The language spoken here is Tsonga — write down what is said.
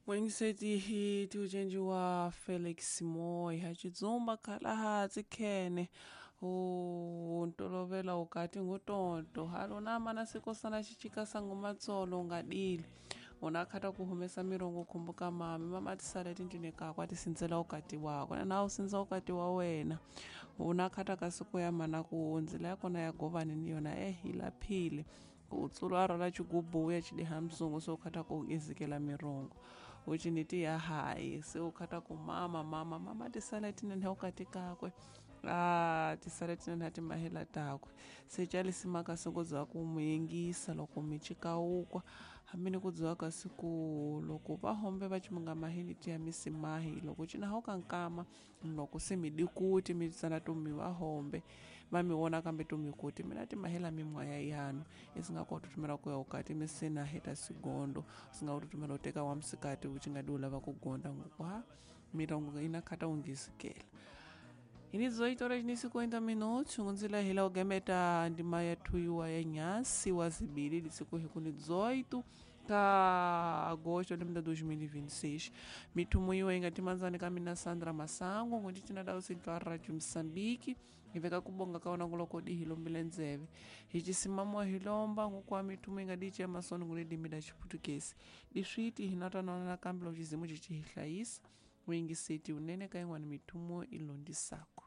Mwengiseti hi tiucenji wa Felix Moyi ha Tshitsumba khala tsikhene u ntolovela ukati ngutonto halona mana sikosana xicikasa ngumatsolo ungadili unakhata kuhumesa mirongo khumbuka mami mama tisale tindlwini kakwe a tisindzela ukati wakwe na u sindza ukati wa wena unakhata ka siku ya mana ku ndzila ya kona ya govani ni yona eh yi laphile ku tsulu a rhwala xigubu ya xidiha msungu se u khata ku izikela mirongo uciniti ya hayi se u khata ku mama mama mama tisale tinene ukati kakwe a tisale tinene timahela takwe se calisimaka siku bya ku muyingisa loko mi cikawukwa hambi ni ku dziwa ka siku loko va hombe va cimunga mahini tiya misimahi loko cina ka nkama loko se mi dikuti mi tsana to mi va hombe va mi vona kambe to mi kuti mina timahela mimwaya yanu isinga ko tutumela ku ya ukati mi sina heta sigondo singa ku tutumela u teka wa msikati u nga di u lava ku gonda ngokwa mirongo ina khata ungisikela ini 18 horas ni 50 minutos ngunzila hila ugemeta ndima ya thuiwa ya nyasi wa zibili lisiku hikuni 18 ka agosto de 2026 mithumu iwe ingatimanzani ka mina Sandra Masango ngondi tina dawu sintwa Radio Mozambique iveka kubonga kaona nguloko di hilombile ndzeve hi cisimamwa hilomba ngukwa mithumu ingadici ya masoni ngulidimi da chiputukesi diswiti hinatanana nakambe lo cizimu cici hihlayisa wingiseti unene ka yin'wana mithumu ilondisako.